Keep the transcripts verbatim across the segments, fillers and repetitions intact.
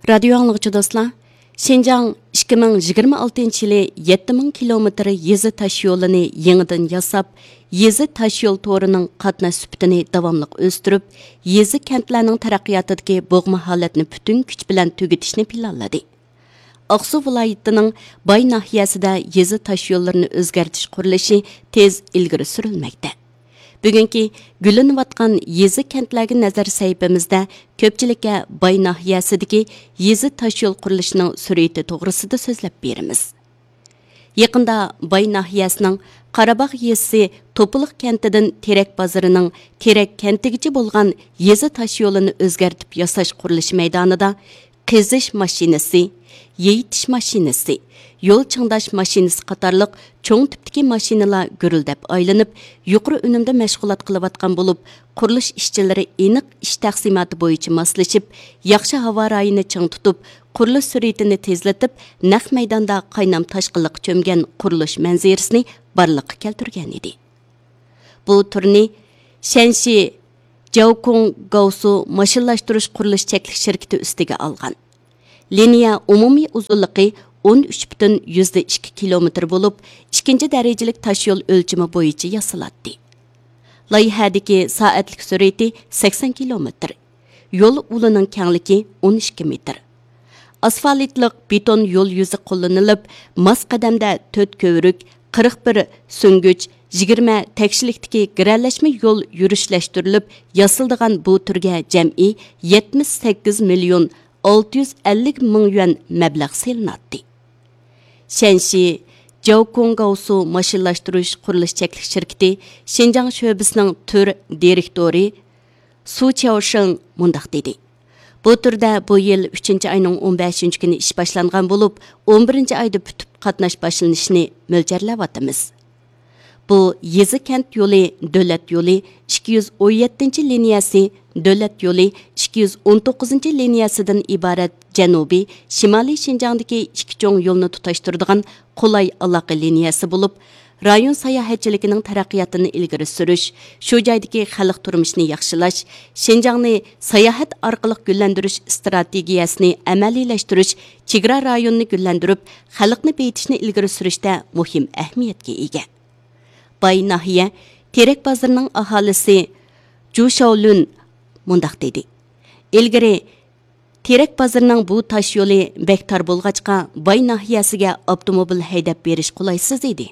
رادىيو ئاڭلىغۇچى دوستلار، شىنجاڭ ئىككى مىڭ يىگىرمە ئالتىنچى يىلى يەتتە مىڭ كىلومېتىر يېزا تاشيولىنى يېڭىدىن ياساپ، يېزا تاشيول تورىنىڭ قاتناش سۈپىتىنى داۋاملىق ئۆستۈرۈپ، يېزا، كەنتلەرنىڭ تەرەققىياتىدىكى بوغما ھالەتنى پۈتۈن كۈچ بىلەن تۈگىتىشنى پىلانلىدى. ئاقسۇ ۋىلايىتىنىڭ باي ناھىيەسىدە يېزا تاشيوللىرىنى ئۆزگەرتىش قۇرۇلۇشى تېز ئىلگىرى سۈرۈلمەكتە. بۈگۈنكى گۈللىنىۋاتقان يېزا، كەنتلەرگە نەزەر سەھىپىمىزدە كۆپچىلىككە باي ناھىيەسىدىكى يېزا تاشيول قۇرۇلۇشىنىڭ سۈرئىتى توغرىسىدا سۆزلەپ بېرىمىز. يېقىندا باي ناھىيەسىنىڭ قاراباغ يېزىسى توپىلىق كەنتىدىن تېرەك بازىرىنىڭ تېرەك كەنتىگىچە بولغان يېزا تاشيولىنى ئۆزگەرتىپ ياساش قۇرۇلۇشى مەيدانىدا قېزىش ماشىنىسى، يېيىتىش ماشىنىسى، يول چىڭداش ماشىنىسى قاتارلىق چوڭ تىپتىكى ماشىنىلار گۈرۈلدەپ ئايلىنىپ، يۇقىرى ئۈنۈمدە مەشغۇلات قىلىۋاتقان بولۇپ، قۇرۇلۇش ئىشچىلىرى ئېنىق ئىش تەقسىماتى بويىچە ماسلىشىپ، ياخشى ھاۋا رايىنى چىڭ تۇتۇپ، قۇرۇلۇش سۈرئىتىنى تېزلىتىپ، نەق مەيداندا قاينام تاشقىنلىققا چۆمگەن قۇرۇلۇش مەنزىرىسىنى بارلىققا كەلتۈرگەن ئىدى. بۇ تۈرنى شەنشى جياۋكۇڭ گاۋسۇ ماشىنىلاشتۇرۇش قۇرۇلۇش چەكلىك شىركىتى ئۈستىگە ئالغان. لىنىيە ئومۇمىي ئۇزۇنلۇقى ئون ئۈچ پۈتۈن يۈزدە ئىككى كىلومېتىر بولۇپ، ئىككىنچى دەرىجىلىك تاشيول ئۆلچىمى بويىچە ياسىلاتتى. لايىھەدىكى سائەتلىك سۈرئىتى سەكسەن كىلومېتىر. يول ئۇلىنىڭ كەڭلىكى ئون ئىككى مېتىر. ئاسفالتلىق بېتون يول يۈزى قوللىنىلىپ، ماس قەدەمدە تۆت كۆۋرۈك، قىرىق بىر سۈڭگۈچ، يىگىرمە تەكشىلىكتىكى گىرەلەشمە يول يۈرۈشلەشتۈرۈلۈپ ياسىلىدىغان بۇ تۈرگە جەمئىي يەتمىش سەككىز مىليون ئالتە يۈز ئەللىك مىڭ يۈەن مەبلەغ سېلىناتتى. شەنشى جياۋكۇڭگاۋسۇ ماشىنىلاشتۇرۇش قۇرۇلۇش چەكلىك شىركىتى شىنجاڭ شۆبىسىنىڭ تۈر دىرېكتورى سۇ چياۋشېڭ مۇنداق دېدى: بۇ تۈردە بۇ يىل ئۈچىنچى ئاينىڭ ئون بەشىنچى كۈنى ئىش باشلانغان بولۇپ، ئون بىرىنچى ئايدا پۈتۈپ قاتناش باشلىنىشىنى مۆلچەرلەۋاتىمىز. بۇ يېزا، كەنت يولى، دۆلەت يولى ئىككى يۈز ئون يەتتىنچى لىنىيەسى، دۆلەت يولى ئىككى يۈز ئون توققۇزىنچى لىنىيەسىدىن ئىبارەت جەنۇبىي، شىمالىي شىنجاڭدىكى ئىككى چوڭ يولنى تۇتاشتۇرىدىغان قولاي ئالاقە لىنىيەسى بولۇپ، رايون ساياھەتچىلىكىنىڭ تەرەققىياتىنى ئىلگىرى سۈرۈش، شۇ جايدىكى خەلق تۇرمۇشىنى ياخشىلاش، شىنجاڭنى ساياھەت ئارقىلىق گۈللەندۈرۈش ئىستراتېگىيەسىنى ئەمەلىيلەشتۈرۈش، چېگرا رايونىنى گۈللەندۈرۈپ، خەلقنى بېيىتىشنى ئىلگىرى سۈرۈشتە مۇھىم ئەھمىيەتكە ئىگە. باي ناھىيە تېرەك بازىرىنىڭ ئاھالىسى جۇ شاۋلۈن مۇنداق دېدى: ئىلگىرى تېرەك بازىرىنىڭ بۇ تاش يولى بەك تار بولغاچقا، باي ناھىيەسىگە ئاپتوموبىل ھەيدەپ بېرىش قولايسىز ئىدى.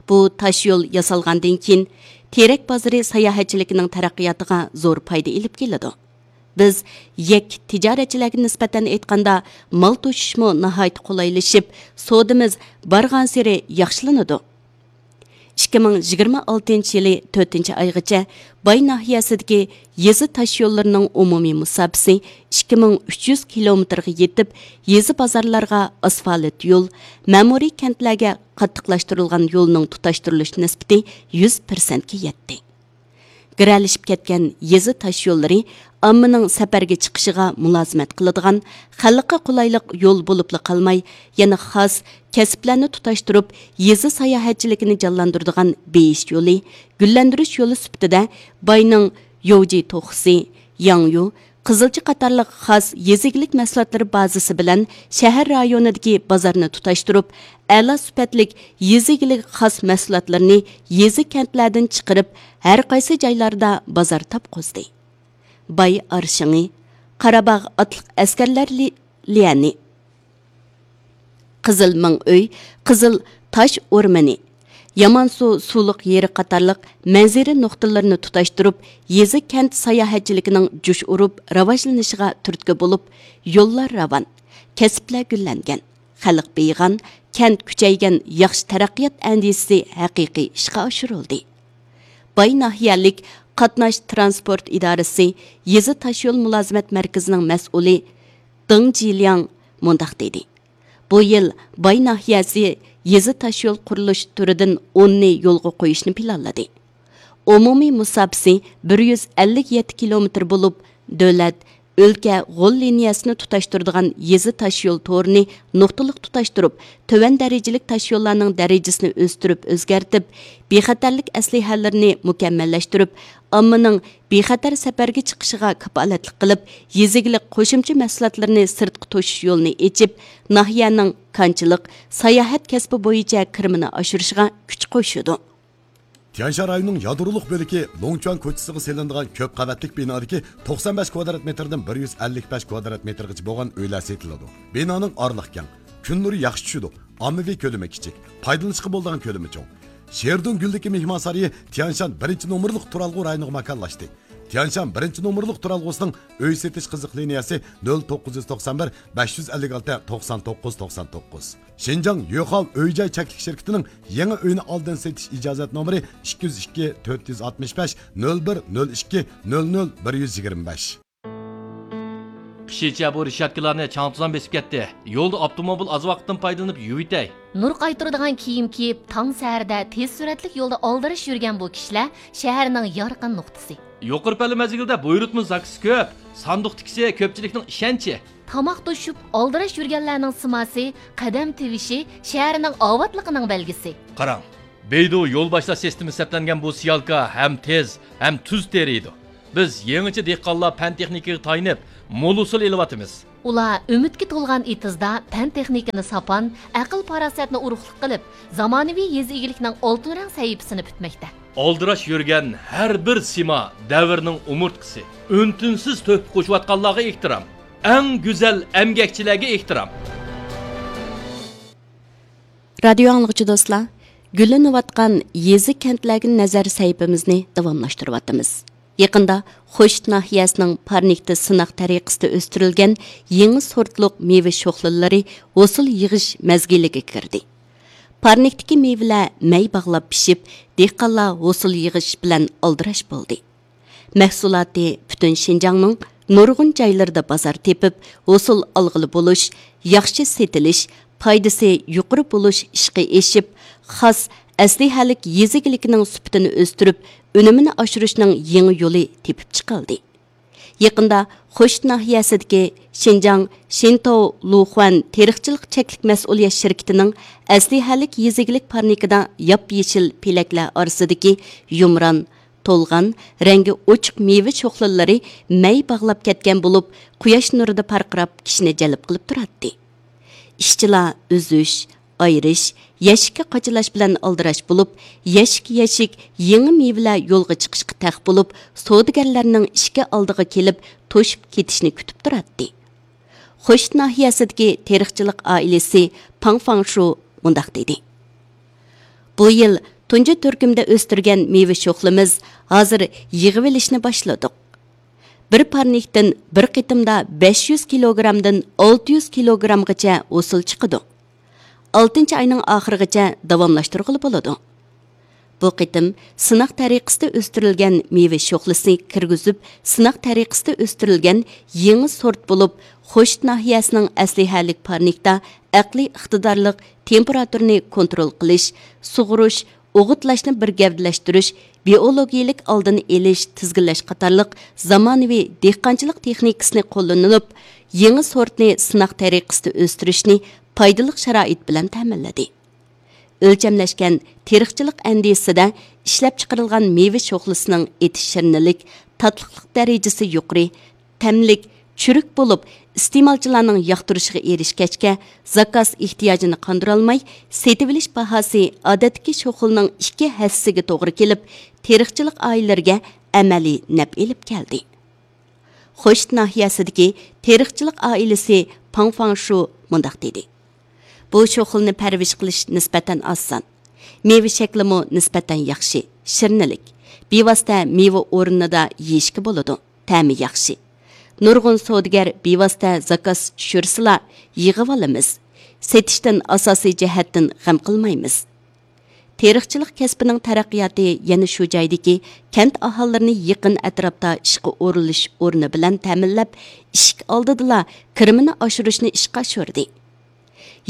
بۇ تاش يول ياسالغاندىن كېيىن، تېرەك بازىرى ساياھەتچىلىكىنىڭ تەرەققىياتىغا زور پايدا ئېلىپ كېلىدۇ. بىز يەككە تىجارەتچىلەرگە نىسبەتەن ئېيتقاندا، مال توشۇشمۇ ناھايىتى قولايلىشىپ، سودىمىز بارغانسېرى ياخشىلىنىدۇ. ئىككى مىڭ يىگىرمە ئالتىنچى يىلى تۆتىنچى ئايغىچە باي ناھىيەسىدىكى يېزا تاش يوللىرىنىڭ ئومۇمىي مۇساپىسى ئىككى مىڭ ئۈچ يۈز كىلومېتىرغا يېتىپ، يېزا بازارلارغا ئاسفالت يول، مەمۇرىي كەنتلەرگە قاتتىقلاشتۇرۇلغان يولنىڭ تۇتاشتۇرۇلۇش نىسبىتى يۈز پىرسەنتكە يەتتى. گىرەلىشىپ كەتكەن يېزا تاش يوللىرى ئاممىنىڭ سەپەرگە چىقىشىغا مۇلازىمەت قىلىدىغان، خەلققە قولايلىق يول بولۇپلا قالماي، يەنە خاس كەسىپلەرنى تۇتاشتۇرۇپ، يېزا ساياھەتچىلىكىنى جانلاندۇرىدىغان بېيىش يولى، گۈللەندۈرۈش يولى سۈپىتىدە باينىڭ يوۋجى توخۇسى، ياڭيۇ، قىزىلچا قاتارلىق خاس يېزا ئىگىلىك مەھسۇلاتلىرى بازىسى بىلەن شەھەر رايونىدىكى بازارنى تۇتاشتۇرۇپ، ئەلا سۈپەتلىك يېزا ئىگىلىك خاس مەھسۇلاتلىرىنى يېزا، كەنتلەردىن چىقىرىپ، ھەر قايسى جايلاردا بازار تاپقۇزدى. باي ئارشىڭى، قاراباغ ئاتلىق ئەسكەرلەر لى-، ليەنى، قىزىل مىڭ ئۆي، قىزىل تاش ئورمىنى، يامانسۇ سۇلۇق يېرى قاتارلىق مەنزىرە نۇقتىلىرىنى تۇتاشتۇرۇپ، يېزا، كەنت ساياھەتچىلىكىنىڭ جۇش ئۇرۇپ راۋاجلىنىشىغا تۈرتكە بولۇپ، يوللار راۋان، كەسىپلەر گۈللەنگەن، خەلق بېيىغان، كەنت كۈچەيگەن، ياخشى تەرەققىيات ئەندىزىسى ھەقىقىي ئىشقا ئاشۇرۇلدى. باي ناھىيەلىك قاتناش تىرانسپورت ئىدارىسى يېزا تاشيول مۇلازىمەت مەركىزىنىڭ مەسئۇلى دېڭ جىلياڭ مۇنداق دېدى: بۇ يىل باي ناھىيەسى يېزا تاشيول قۇرۇلۇش تۈرىدىن ئوننى يولغا قويۇشنى پىلانلىدى. ئومۇمىي مۇساپىسى بىر يۈز ئەللىك يەتتە كىلومېتىر بولۇپ، دۆلەت ئۆلكە غول لىنىيەسىنى تۇتاشتۇرىدىغان يېزا تاشيول تورىنى نۇقتىلىق تۇتاشتۇرۇپ، تۆۋەن دەرىجىلىك تاشيوللارنىڭ دەرىجىسىنى ئۆستۈرۈپ ئۆزگەرتىپ، بىخەتەرلىك ئەسلىھەلىرىنى مۇكەممەللەشتۈرۈپ، ئاممىنىڭ بىخەتەر سەپەرگە چىقىشىغا كاپالەتلىك قىلىپ، يېزا ئىگىلىك قوشۇمچە مەھسۇلاتلىرىنى سىرتقا توشۇش يولىنى ئېچىپ، ناھىيەنىڭ كانچىلىق، ساياھەت كەسپى بويىچە كىرىمىنى ئاشۇرۇشىغا كۈچ قوشىدۇ. تيەنشان رايونىنىڭ يادرولۇق بۆلىكى لوڭچۇەن كوچىسىغا سېلىنىدىغان كۆپ قەۋەتلىك بىنادىكى توقسان بەش كۋادرات مېتىردىن بىر يۈز ئەللىك بەش كۋادرات مېتىرغىچە بولغان ئۆيلەر سېتىلىدۇ. بىنانىڭ ئارىلىقى كەڭ، كۈن نۇرى ياخشى چۈشىدۇ، ئاممىۋى كۆلىمى كىچىك، پايدىلىنىشقا بولىدىغان كۆلىمى چوڭ. شېردۇڭ گۈلدىكى مېھمانسارىيى تيەنشان بىرىنچى نومۇرلۇق تۇرالغۇ رايونىغا ماكانلاشتى. تيەنشان بىرىنچى نومۇرلۇق تۇرالغۇسىنىڭ ئۆي سېتىش قىزىق لىنىيەسى نۆل توققۇز يۈز توقسان بىر، بەش يۈز ئەللىك ئالتە، توقسان توققۇز، توقسان توققۇز. شىنجاڭ يۆخاۋ ئۆي جاي چەكلىك شىركىتىنىڭ يېڭى ئۆينى ئالدىن سېتىش ئىجازەت نومۇرى ئىككى يۈز ئىككى، تۆت يۈز ئاتمىش بەش، نۆل بىر، نۆل ئىككى، نۆل نۆل، بىر يۈز يىگىرمە بەش. قىشىچە بۇ رېشاتكىلارنى چاڭ-توزان بېسىپ كەتتى. يولدا ئاپتوموبىل ئاز ۋاقىتتىن پايدىلىنىپ يۇيۇۋېتەي. نۇر قايتۇرىدىغان كىيىم كىيىپ، تاڭ سەھەردە تېز سۈرئەتلىك يولدا ئالدىراش يۈرگەن بۇ كىشىلەر شەھەرنىڭ يارقىن نۇقتىسى. يۇقىرى پەللە مەزگىلدە بۇيرۇتما زاكىسى كۆپ، ساندۇق تىكىسى كۆپچىلىكنىڭ ئىشەنچى. تاماق توشۇپ، ئالدىراش يۈرگەنلەرنىڭ سىماسى، قەدەم تىۋىشى شەھەرنىڭ ئاۋاتلىقىنىڭ بەلگىسى. قاراڭ، بەيدۇ يول باشلاش سىستېمىسى سەپلەنگەن بۇ سىيالكا ھەم تېز، ھەم تۈز تېرىيدۇ. بىز يېڭىچە دېھقانلار پەن تېخنىكىغا تايىنىپ، مول ھوسۇل ئېلىۋاتىمىز. ئۇلار ئۈمىدكە تولغان ئېتىزدا پەن تېخنىكىنى ساپان، ئەقىل پاراسەتنى ئۇرۇقلۇق قىلىپ، زامانىۋى يېزا ئىگىلىكنىڭ ئالتۇن رەڭ سەھىپىسىنى پۈتمەكتە. ئالدىراش يۈرگەن ھەر بىر سىما دەۋرنىڭ ئومۇرتقىسى. ئۈن-تىنسىز تۆھپە قوشۇۋاتقانلارغا ئېھتىرام. ئەڭ گۈزەل ئەمگەكچىلەرگە ئېھتىرام. رادىيو ئاڭلىغۇچى دوستلار، گۈللىنىۋاتقان يېزا-كەنتلەرگە نەزەر سەھىپىمىزنى داۋاملاشتۇرۇۋاتىمىز. يېقىندا خوشۇت ناھىيەسىنىڭ پارنىكتا سىناق تەرىقىسىدە ئۆستۈرۈلگەن يېڭى سورتلۇق مېۋە شوخلىلىرى ھوسۇل يىغىش مەزگىلىگە كىردى. پارنىكتىكى مېۋىلەر مەي باغلاپ پىشىپ، دېھقانلار ھوسۇل يىغىش بىلەن ئالدىراش بولدى. مەھسۇلاتى پۈتۈن شىنجاڭنىڭ نۇرغۇن جايلىرىدا بازار تېپىپ، ھوسۇل ئالغىلى بولۇش، ياخشى سېتىلىش، پايدىسى يۇقىرى بولۇش ئىشقا ئېشىپ، خاس ئەسلىھەلىك يېزا ئىگىلىكىنىڭ سۈپىتىنى ئۆستۈرۈپ، ئۈنۈمىنى ئاشۇرۇشنىڭ يېڭى يولى تېپىپ چىقىلدى. يېقىندا خوشۇت ناھىيەسىدىكى شىنجاڭ شىنتاۋ لۇخۇەن تېرىقچىلىق چەكلىك مەسئۇلىيەت شىركىتىنىڭ ئەسلىھەلىك يېزا ئىگىلىك پارنىكىدا ياپيېشىل پېلەكلەر ئارىسىدىكى يۇمران، تولغان، رەڭگى ئوچۇق مېۋە شوخلىلىرى مەي باغلاپ كەتكەن بولۇپ، قۇياش نۇرىدا پارقىراپ، كىشىنى جەلپ قىلىپ تۇراتتى. ئىشچىلار ئۈزۈش، ئايرىش، يەشىككە قاچىلاش بىلەن ئالدىراش بولۇپ، يەشىك-يەشىك يېڭى مېۋىلەر يولغا چىقىشقا تەق بولۇپ، سودىگەرلەرنىڭ ئىشىكى ئالدىغا كېلىپ توشۇپ كېتىشنى كۈتۈپ تۇراتتى. خوشۇت ناھىيەسىدىكى تېرىقچىلىق ئائىلىسى پاڭ فاڭشۇ مۇنداق دېدى: بۇ يىل تۇنجى تۈركۈمدە ئۆستۈرگەن مېۋە شوخلىمىز ھازىر يىغىۋېلىشنى باشلىدۇق. بىر پارنىكتىن بىر قېتىمدا بەش يۈز كىلوگرامدىن ئالتە يۈز كىلوگرامغىچە ھوسۇل چىقىدۇ. ئالتىنچى ئاينىڭ ئاخىرىغىچە داۋاملاشتۇرغىلى بولىدۇ. بۇ قېتىم سىناق تەرىقىسىدە ئۆستۈرۈلگەن مېۋە شوخلىسى كىرگۈزۈپ، سىناق تەرىقىسىدە ئۆستۈرۈلگەن يېڭى سورت بولۇپ، خوشۇت ناھىيەسىنىڭ ئەسلىھەلىك پارنىكتا ئەقلىي ئىقتىدارلىق تېمپېراتۇرىنى كونترول قىلىش، سۇغۇرۇش، ئوغۇتلاشنى بىر گەۋدىلەشتۈرۈش، بىئولوگىيىلىك ئالدىنى ئېلىش، تىزگىنلەش قاتارلىق زامانىۋى دېھقانچىلىق تېخنىكىسىنى قوللىنىلىپ، يېڭى سورتنى سىناق تەرىقىسىدە ئۆستۈرۈشنى پايدىلىق شارائىت بىلەن تەمىنلىدى. ئۆلچەملەشكەن تېرىقچىلىق ئەندىزىسىدە ئىشلەپچىقىرىلغان مېۋە شوخلىسىنىڭ ئېتىش شىرىنلىك، تاتلىقلىق دەرىجىسى يۇقىرى، تەملىك، چۈرۈك بولۇپ، ئىستېمالچىلارنىڭ ياقتۇرۇشىغا ئېرىشكەچكە، زاكاز ئېھتىياجىنى قاندۇرالماي، سېتىۋېلىش باھاسى ئادەتتىكى شوخلىنىڭ ئىككى ھەسسىسىگە توغرا كېلىپ، تېرىقچىلىق ئائىلىلىرىگە ئەمەلىي نەپ ئېلىپ كەلدى. خوشۇت ناھىيەسىدىكى تېرىقچىلىق ئائىلىسى پاڭ فاڭشۇ مۇنداق دېدى: بۇ شوخلىنى پەرۋىش قىلىش نىسبەتەن ئاسان. مېۋە شەكلىمۇ نىسبەتەن ياخشى، شىرنىلىك. بىۋاسىتە مېۋە ئورنىدا يېيىشكە بولىدۇ، تەمى ياخشى. نۇرغۇن سودىگەر بىۋاسىتە زاكاز چۈشۈرسىلا، يىغىۋالىمىز. سېتىشتىن ئاساسىي جەھەتتىن غەم قىلمايمىز. تېرىقچىلىق كەسپىنىڭ تەرەققىياتى يەنە شۇ جايدىكى كەنت ئاھالىلىرىنى يېقىن ئەتراپتا ئىشقا ئورۇنلىشىش ئورنى بىلەن تەمىنلەپ، ئىشىك ئالدىدىلا كىرىمىنى ئاشۇرۇشنى ئىشقا ئاشۇردى.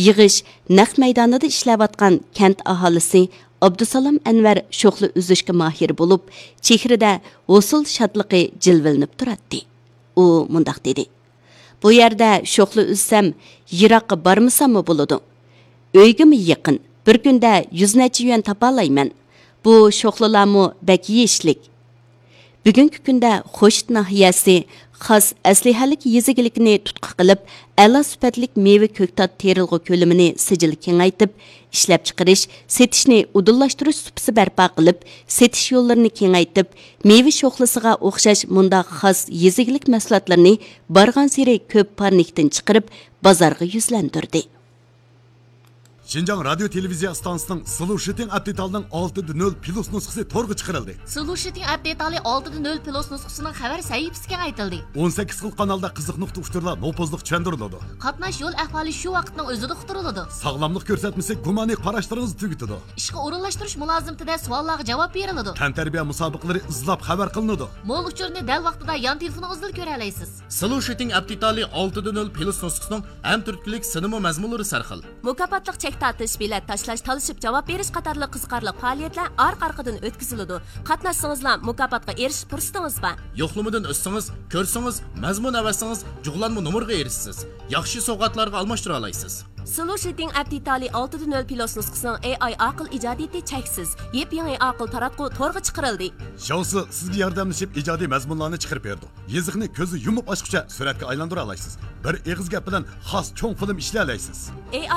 يىغىش نەق مەيدانىدا ئىشلەۋاتقان كەنت ئاھالىسى ئابدۇسالام ئەنۋەر شوخلا ئۈزۈشكە ماھىر بولۇپ، چېھرىدە ھوسۇل شادلىقى جىلۋىلىنىپ تۇراتتى. ئۇ مۇنداق دېدى: بۇ يەردە شوخلا ئۈزسەم، يىراققا بارمىساممۇ بولىدۇ. ئۆيگىمۇ يېقىن، بىر كۈندە يۈز نەچچە يۈەن تاپالايمەن. بۇ شوخلىلارمۇ بەك يېيىشلىك. بۈگۈنكى كۈندە خوشۇت ناھىيەسى خاس ئەسلىھەلىك يېزا ئىگىلىكىنى تۇتقا قىلىپ، ئەلا سۈپەتلىك مېۋە كۆكتات تېرىلغۇ كۆلىمىنى سىجىل كېڭەيتىپ، ئىشلەپچىقىرىش، سېتىشنى ئۇدۇللاشتۇرۇش سۇپىسى بەرپا قىلىپ، سېتىش يوللىرىنى كېڭەيتىپ، مېۋە شوخلىسىغا ئوخشاش مۇنداق خاس يېزا ئىگىلىك مەھسۇلاتلىرىنى بارغانسېرى كۆپ پارنىكتىن چىقىرىپ، بازارغا يۈزلەندۈردى. شىنجاڭ رادىيو تېلېۋىزىيە ئىستانسىسىنىڭ سلوشىتىڭ ئەپ دېتالىنىڭ ئالتە دە نۆل پلۇس نۇسخىسى تورغا چىقىرىلدى. سلوشىتىڭ ئەپ دېتالى ئالتە دە نۆل پلۇس نۇسخىسىنىڭ خەۋەر سەھىپىسى كېڭەيتىلدى. ئون سەككىز خىل قانالدا قىزىق نۇقتا ئۇچۇرلار نوپۇزلۇق چۈشەندۈرۈلىدۇ. قاتناش يول ئەھۋالى شۇ ۋاقىتنىڭ ئۆزىدە ئۇقتۇرۇلىدۇ. ساغلاملىق كۆرسەتمىسى گۇمانىي قاراشلىرىڭىزنى تۈگىتىدۇ. ئىشقا ئورۇنلاشتۇرۇش مۇلازىمىتىدە سوئاللارغا جاۋاب بېرىلىدۇ. تەنتەربىيە مۇسابىقىلىرى ئىزلاپ خەۋەر قىلىنىدۇ. مول ئۇچۇرنى دەل ۋاقتىدا يان تېلېفونىڭىزدىلا كۆرەلەيسىز. سلوشىتىڭ ئەپ دېتالى ئالتە دە نۆل پلۇس نۇسخىسىنىڭ ھەم تۈرتكىلىك سىنىمۇ مەزمۇنلىرى سەرخىل. مۇكاپاتلىق چەك تارتىش، بېلەت تاشلاش، تالىشىپ جاۋاب بېرىش قاتارلىق قىزىقارلىق پائالىيەتلەر ئارقا-ئارقىدىن ئۆتكۈزۈلىدۇ. قاتناشسىڭىزلا مۇكاپاتقا ئېرىشىش پۇرسىتىڭىز بار. يوقلىمىدىن ئۆتسىڭىز، كۆرسىڭىز، مەزمۇن ئەۋەتسىڭىز، جۇغلانما نومۇرغا ئېرىشىسىز. ياخشى سوۋغاتلارغا ئالماشتۇرالايسىز. سلوشىتىڭ ئەپ دېتالى ئالتە دە نۆل پلۇس نۇسخىسىنىڭ ئېي ئاي ئاقىل ئىجادىيىتى چەكسىز. يېپيېڭى ئاقىل تاراتقۇ تورغا چىقىرىلدى. شياۋسى سىزگە ياردەملىشىپ ئىجادىي مەزمۇنلارنى چىقىرىپ بېرىدۇ. يېزىقنى كۆزنى يۇمۇپ ئاچقۇچە سۈرەتكە ئايلاندۇرالايسىز. بىر ئېغىز گەپ بىلەن خاس چوڭ فىلىم ئىشلىيەلەيسىز. ئېي ئاي